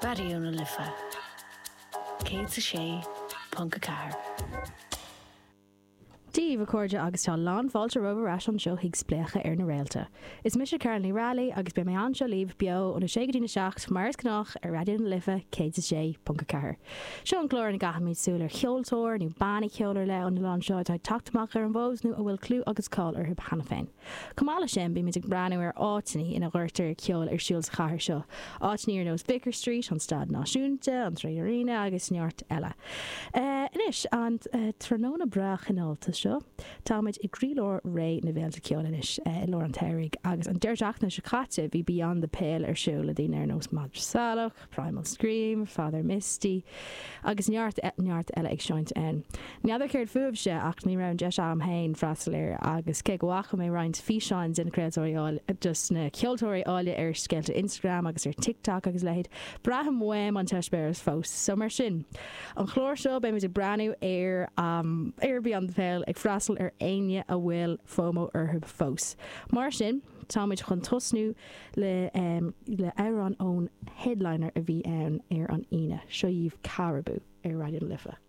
Raidió na Life 106.4. Dia dhaoibh, a chairde, agus tá lán fáilte romhaibh ar ais anseo chuig Spléachadh ar na Réalta. Is mise Carolyn Ní Raghallaigh agus beidh mé anseo libh beo óna 6 go dtína 7, mar is gnách, ar Raidió na Life 106.4. Seo an clár ina gcaithimid súil ar cheoltóir nó banna ceoil ar leith ón oileán seo atá ag teacht amach ar an bhfód nó a bhfuil clú agus cáil orthu cheana féin. Chomh maith leis sin, bímid ag breathnú ar áiteanna ina gcuirtear ceol ar siúl sa chathair seo, áiteanna ar nós Vicar Street, an Staid Náisiúnta, an 3 Arena agus neart eile. Anois, an tráthnóna breá cineálta seo, táimid i gcroílár ré na bhféilte ceoil anois, i lár an tsamhraidh, agus an deireadh seachtaine seo caite bhí Beyond the Pale ar siúl le daoine ar nós Madra Salach, Primal Scream, Father Misty agus neart neart eile ag seinnt ann. N'fheadar céard fúibhse ach ní raibh an deis agam féin freastal air agus cé go bhfaca mé roinnt físeáin de na craoltóirí áille, dos na ceoltóirí áille ar scéalta Instagram agus ar TikTok agus a leithéid, braithim uaim an t-eispéireas fós. So mar sin, an chlár seo beimid ag breathnú ar ar Beyond the Pale ag freastal ar éinne a bhfuil FOMO orthu fós. Mar sin, táimid chun tosnú le le amhrán ón headliner a bhí ann ar an Aoine. Seo dhaoibh Caribou ar Raidió na Life.